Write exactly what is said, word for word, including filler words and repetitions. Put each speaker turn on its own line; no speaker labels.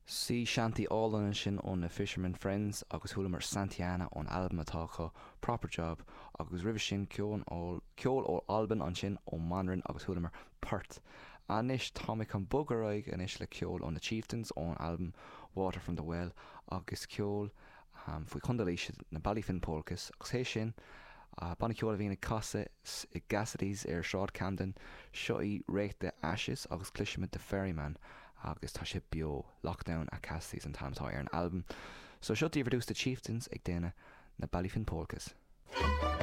Sea shanty álainn ansin ó na Fisherman Friends agus chualamar Santiana ón albam atá acu Proper Job agus roimhe sin ceol ceol ó Albain ansin ó Manrin agus chualamar Port. Anois tá mé chun bogadh ar aghaidh anois le ceol ó na Chieftains ón albam Water from the Well agus ceol um, faoi Chontae Laoise na Ballyfin Polkas agus é sin uh, banna ceoil a bhíonn ag casadh i Cassidy's ar Sráid Camden seo í Rake the Ashes agus cloisfimid The Ferryman agus tá sé beo Lockdown at Cassidy's an t-ainm atá ar an albam. So seo daoibh ar dtús The Chieftains ag déanamh na Ballyfin Polkas.